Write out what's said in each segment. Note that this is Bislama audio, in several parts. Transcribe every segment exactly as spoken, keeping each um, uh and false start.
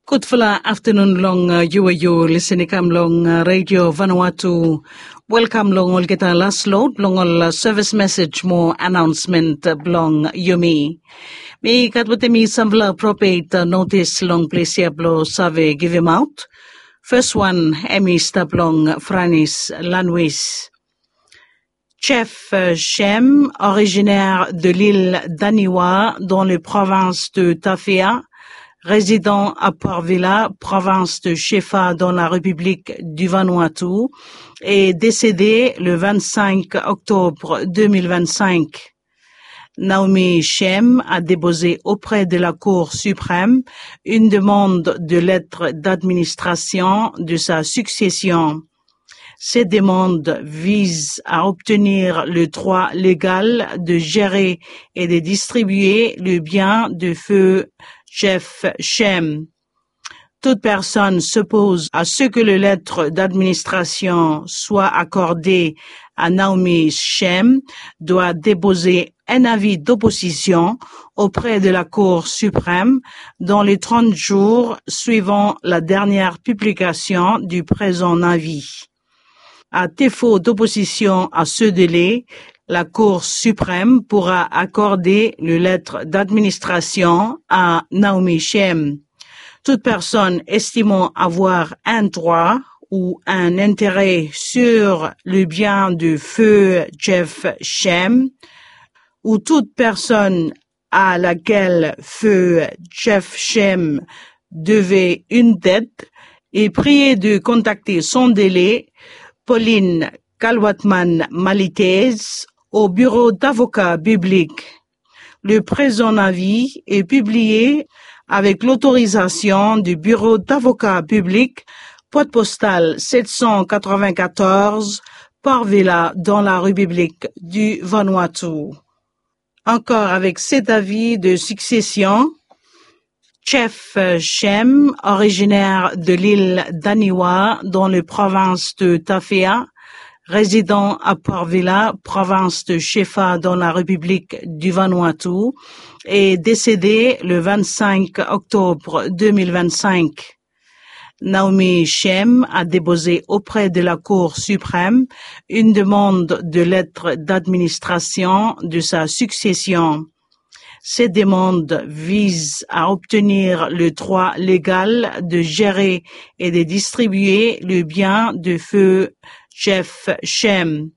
Gudfala aftanun long yu we yu lisin i kam long redio Vanuatu. Welkam long olgeta las lod blong ol sevis mesej mo anaonsmen blong yumi. Mi gat wetem mi sampela apropet notis long ples ya blong save givimaot. Fes wan em i stap long Franis lanwis. Jeff Shem, originaire de l'île d'Aniwa dans les provinces de Tafea, résidant à Port Vila, province de Shefa dans la République du Vanuatu, est décédé le vingt-cinq octobre deux mille vingt-cinq. Naomi Shem a déposé auprès de la Cour suprême une demande de lettre d'administration de sa succession. Cette demande vise à obtenir le droit légal de gérer et de distribuer le bien de feu Jeff Shem. Toute personne s'oppose à ce que le lettre d'administration soit accordée à Naomi Shem doit déposer un avis d'opposition auprès de la Cour suprême dans les trente jours suivant la dernière publication du présent avis. À défaut d'opposition à ce délai, la Cour suprême pourra accorder le lettre d'administration à Naomi Shem. Toute personne estimant avoir un droit ou un intérêt sur le bien de feu Jeff Shem, ou toute personne à laquelle feu Jeff Shem devait une dette, est priée de contacter sans délai Pauline Kalwatman Malitez au bureau d'avocat public. Le présent avis est publié avec l'autorisation du bureau d'avocat public, boîte postale sept cent quatre-vingt-quatorze, Port Vila, dans la République du Vanuatu. Encore avec cet avis de succession, Jeff Shem, originaire de l'île d'Aniwa dans les provinces de Tafea, résidant à Port Vila, province de Shefa dans la République du Vanuatu, est décédé le vingt-cinq octobre deux mille vingt-cinq. Naomi Shem a déposé auprès de la Cour suprême une demande de lettre d'administration de sa succession. Cette demande vise à obtenir le droit légal de gérer et de distribuer le bien de feu Jeff Shem.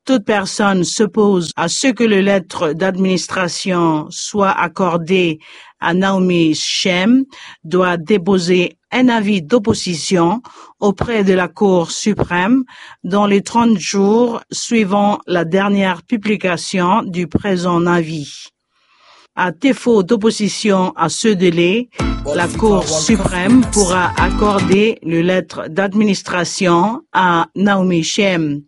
Toute personne s'oppose à ce que le lettre d'administration soit accordée à Naomi Shem doit déposer un avis d'opposition auprès de la Cour suprême dans les trente jours suivant la dernière publication du présent avis. À défaut d'opposition à ce délai, la Cour suprême pourra accorder le lettre d'administration à Naomi Shem.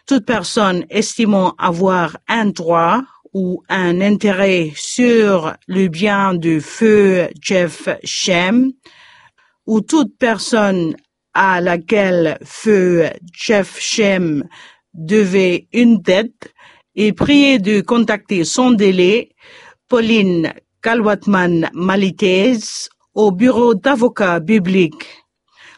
Toute personne estimant avoir un droit ou un intérêt sur le bien de feu Jeff Shem, ou toute personne à laquelle feu Jeff Shem devait une dette, est priée de contacter sans délai Pauline Kalwatman Malitez au bureau d'avocat public.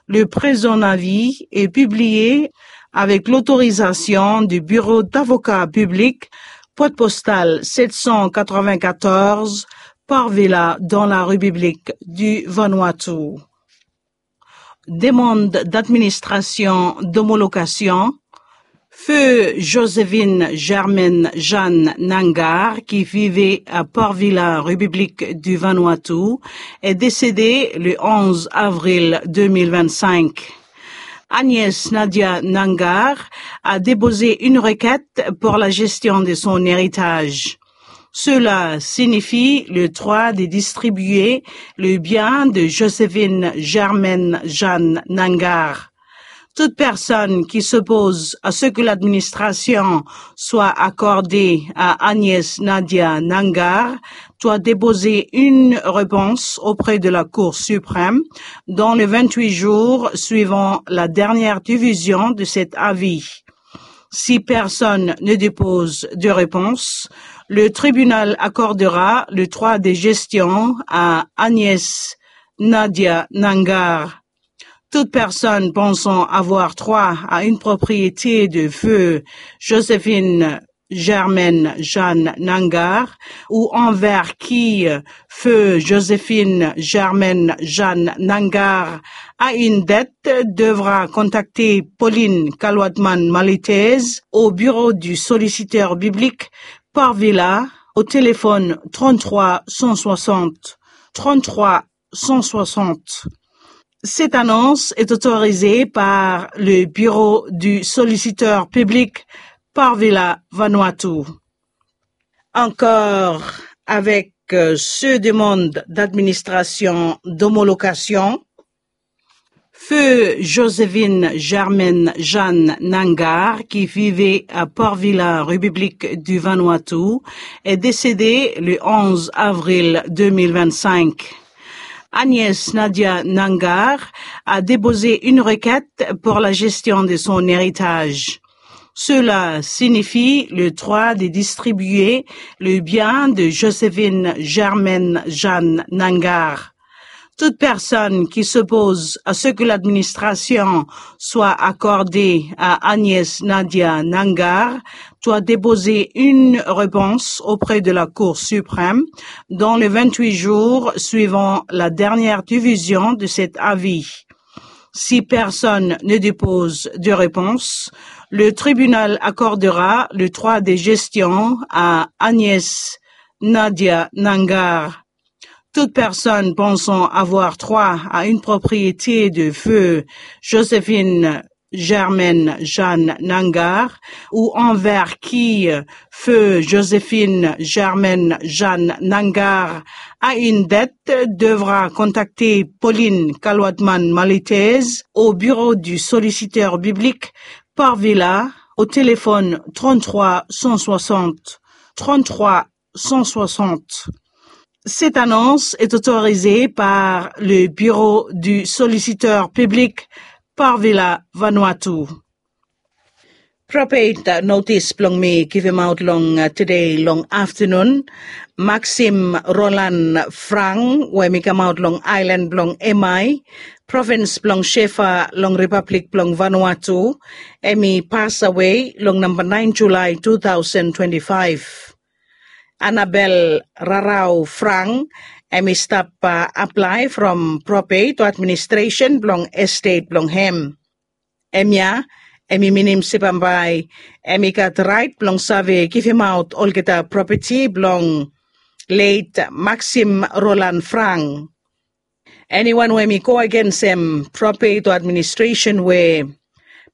Le présent avis est publié avec l'autorisation du bureau d'avocat public, boîte postale sept cent quatre-vingt-quatorze, Port Vila, dans la République du Vanuatu. Demande d'administration d'homologation. Feu Joséphine Germaine Jeanne Nangar, qui vivait à Port Vila, République du Vanuatu, est décédée le onze avril deux mille vingt-cinq. Agnès Nadia Nangar a déposé une requête pour la gestion de son héritage. Cela signifie le droit de distribuer le bien de Joséphine Germaine Jeanne Nangar. Toute personne qui s'oppose à ce que l'administration soit accordée à Agnès Nadia Nangar doit déposer une réponse auprès de la Cour suprême dans les vingt-huit jours suivant la dernière division de cet avis. Si personne ne dépose de réponse, le tribunal accordera le droit de gestion à Agnès Nadia Nangar. Toute personne pensant avoir droit à une propriété de feu Joséphine Germaine Jeanne Nangar ou envers qui feu Joséphine Germaine Jeanne Nangar a une dette devra contacter Pauline Kalwatman Malitez au bureau du solliciteur biblique Parvila au téléphone trente-trois cent soixante, trente-trois cent soixante. Cette annonce est autorisée par le bureau du solliciteur public Parvila Vanuatu. Encore avec euh, ce demande d'administration d'homologation, feu Joséphine Germaine Jeanne Nangar, qui vivait à Port Vila, République du Vanuatu, est décédée le onze avril deux mille vingt-cinq. Agnès Nadia Nangar a déposé une requête pour la gestion de son héritage. Cela signifie le droit de distribuer le bien de Joséphine Germaine Jeanne Nangar. Toute personne qui s'oppose à ce que l'administration soit accordée à Agnès Nadia Nangar doit déposer une réponse auprès de la Cour suprême dans les vingt-huit jours suivant la dernière division de cet avis. Si personne ne dépose de réponse, le tribunal accordera le droit de gestion à Agnès Nadia Nangar. Toute personne pensant avoir droit à une propriété de feu Joséphine Germaine Jeanne Nangar ou envers qui feu Joséphine Germaine Jeanne Nangar a une dette devra contacter Pauline Kalwatman Malitez au bureau du solliciteur biblique Parvila au téléphone trente-trois cent soixante, trente-trois cent soixante. Cette annonce est autorisée par le bureau du solliciteur public Parvila Vanuatu. Probate notis blong mi givimaot long tede long aftanun. Maxim Roland Frank we mi kamaot long ailan blong Emai, provins blong Shefa long Ripablik blong Vanuatu, em i pas awe long namba naen Julai two thousand twenty-five. Anabel Rarau Frank em i stap aplae from probate o administresen blong estet blong hem. Hemia em i minim se bambae em i gat raet blong save givimaot olgeta propeti blong let Maxim Roland Frank. Eniwan we em i go agensem probate o administresen we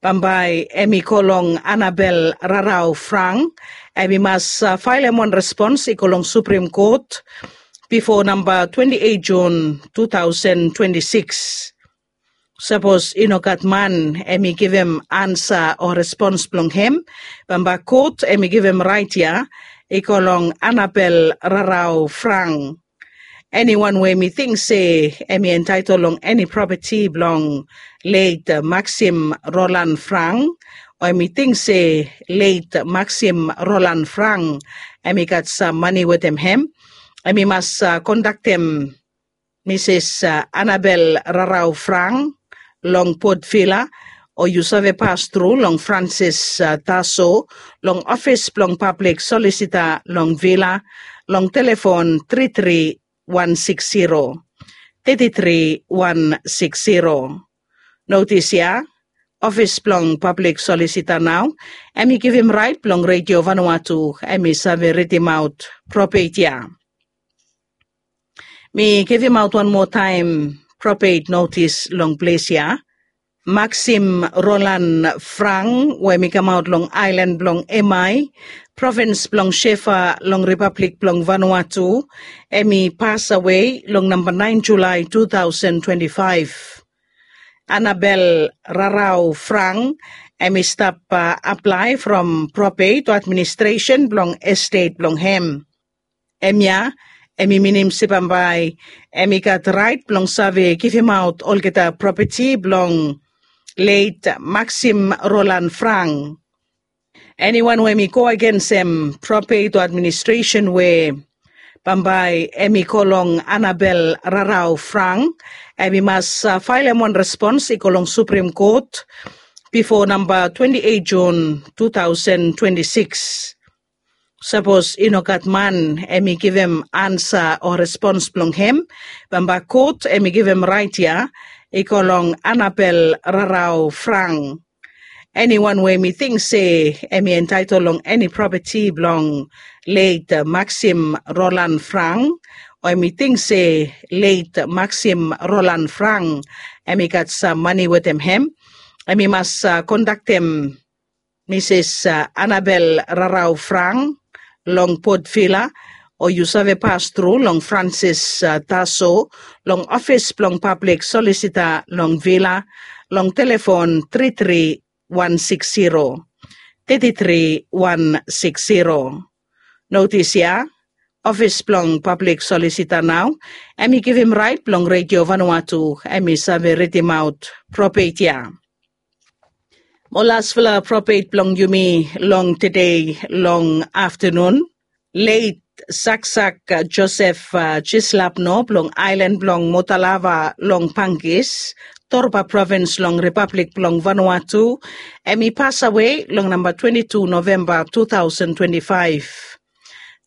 bambae em i go long Anabel Rarau Frank, em i mas faelem wan respons i go long Suprim Kot bifo namba twenti eit Jun two thousand twenty-six. Sapos i no gat man em i givim ansa o respons blong hem, bambae kot em i givim raet ya i go long Anabel Rarau Frank. Eniwan we mi ting se em i entaetol long eni propeti blong let Maxim Roland Frank, o em i ting se let Maxim Roland Frank em i gat sam mane wetem hem, em i mas kontaktem Misis Anabel Rarau Frank long Port Vila, o yu save pas tru long Francis Taso long ofis blong pablik solisita long Vila long telefon tri tri wan sikis zero, tri tri wan sikis zero. Notis ya, ofis blong pablik solisita nao em i givim raet blong Redio Vanuatu em i save ridimaot probate ya. Mi givimaot wan moa taem probate notis long ples ya. Maxim Roland Frank we mi kamaot long ailan blong Emai, provins blong Shefa long Ripablik blong Vanuatu, em i pas awe long namba naen Julai two thousand twenty-five. Anabel Rarau Frank em i stap aplae from probate o administresen blong estet blong hem. Hemia em i minim se bambae em i gat raet blong save givimaot olgeta propeti blong let Maxim Roland Frank. Eniwan we em i go agensem probate o administresen we Bambae em i go long Anabel Rarau Frang, em i mas faelem wan respons i go long Suprem Kot bifo namba twenti eit Jun tu taosen twenti sikis. Sapos i no gat man em i givim ansa o respons blong hem, bambae kot em i givim rait ya i go long Anabel Rarau Frang. Eniwan we em i ting se em i entaetol long eni propeti blong leit Maxim Roland Frang, o em i ting se leit Maxim Roland Frang em i gat sam mane wetem hem, em i mas kondaktem Misis Anabel Rarau Frang long Port Vila, o yu save pas tru long Francis Taso long ofis blong pablik solisita long Vila long telefon tri tri wan sikis zero, tri tri wan sikis zero. Notis ya, ofis blong pablik solisita nao em i givim rait blong Redio Vanuatu em i save ridimaot propet ya. Mo lasfala propet blong yumi long tede long aftanun, leit Saksak Josef Jislapno blong aelan blong Motalava long Pangis, Torba provins long Ripablik blong Vanuatu, em i pasawe long namba twenti tu Novemba tu taosen twenti faef.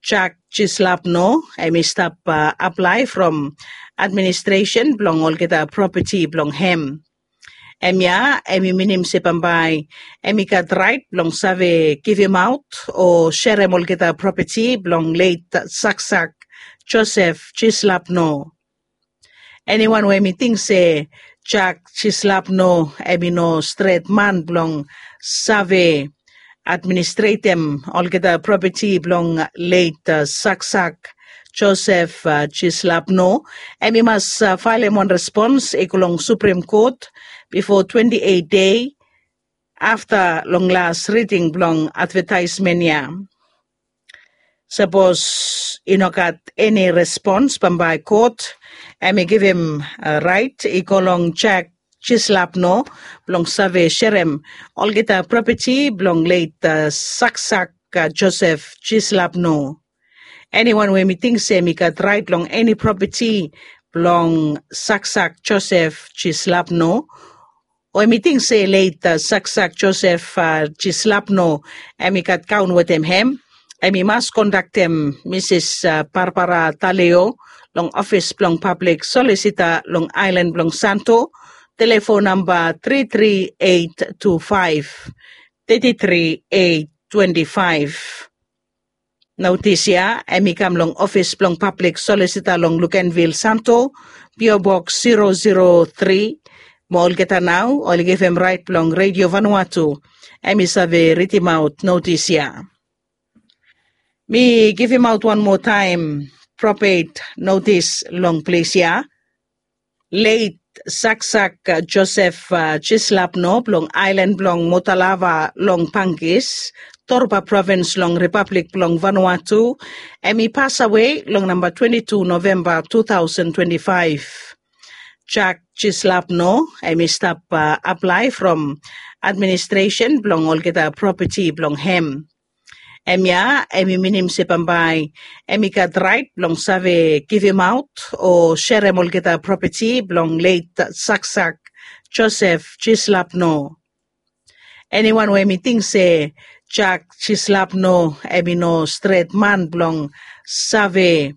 Jack Jislapno em i stap aplae from administresen blong olgeta propeti blong hem. Hemia em i minim se bambae em i gat rait blong save givimaot o serem olgeta propeti blong leit Saksak Josef Jislapno. Eniwan we em i ting se Jack Jislapno em i no stret man blong save administretem olgeta propeti blong leit Saksak Josef Jislapno, em i mas faelem wan respons i go long Suprem Kot bifo twenti eit dei afta long las riding blong advetaesmen ya. Sapos i no gat eni respons, bambae kot em i givim rait i go long Jack Jislapno blong save serem olgeta propeti blong leit Saksak Josef Jislapno. Eniwan we em i ting se em i gat rait long eni propeti blong Saksak Josef Jislapno, o em i ting se leit Saksak Josef Jislapno em i gat kaon wetem hem, em i mas kondaktem Misis Barbara Taleo long ofis blong pablik solisita long aelan blong Santo, telefon namba tri tri eit tu faef, tri tri eit twenti faef. Notis ya em i kam long ofis blong pablik solisita long Lukenvil Santo, P O Box zero zero three. Mo olgeta nao oli givim rait blong Redio Vanuatu em i save ridimaot notis ya. Mi givimaot wan moa taem propet notis long ples ya. Leit Saksak Josef Jislapno blong aelan blong Motalava long Pangis, Torba provins long Ripablik blong Vanuatu, em i pasawe long namba twenti tu Novemba tu taosen twenti faef. Jack Jislapno em i stap aplae from administresen blong olgeta propeti blong hem. Hemia em i minim se bambae em i gat rait blong save givimaot o serem olgeta propeti blong leit Saksak Josef Jislapno. Eniwan we em i ting se Jack Jislapno em i no stret man blong save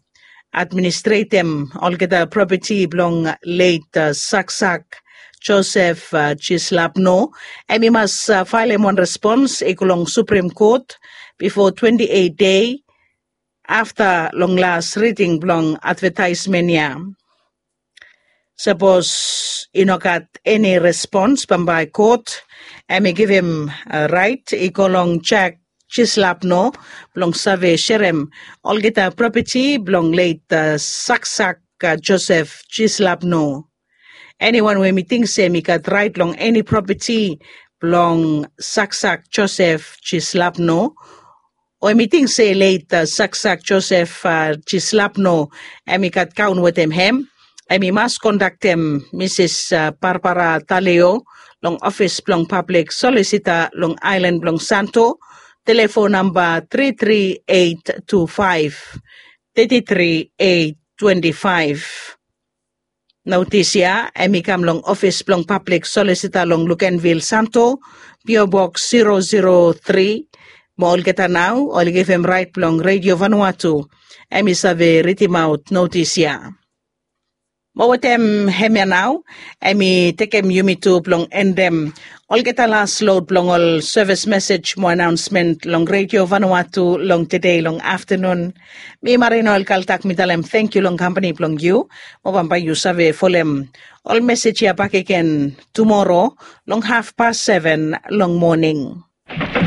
administretem olgeta propeti blong leit Saksak Josef Jislapno, em i mas faelem wan respons i go long Suprem Kot bifo twenti eit dei afta long las riding blong advetaesmen ya. Sapos i no gat eni respons, bambae kot em i givim rait i go long Jack Jislapno blong save serem olgeta propeti blong leit Saksak Josef Jislapno. Eniwan we em i ting se em i gat rait long eni propeti blong Saksak Josef Jislapno, o em i ting se leit Saksak Josef Jislapno em i gat kaon wetem hem, em i mas kondaktem Misis Barbara Taleo long ofis blong pablik solisita long aelan blong Santo, telefon namba tri tri eit tu faef, thirty-three eight twenty-five. Notis ya em i kam long ofis blong pablik solisita long Lukenvil Santo, P O Box zero zero three. Mo olgeta nau oli givim rait blong Radio Vanuatu em i save ridimaot notis ya. Mo wetem hemia nau em i tekem yumi tu blong endem olgeta las lod blong ol sevis mesej mo anaonsmen long Radio Vanuatu long tede long aftanun. Mi Marino Elkaltak mi talem tangkiu long kampani blong yu. Mo bambae yu save folem ol mesej ya bakegen tumoro long hafpas seven long moning.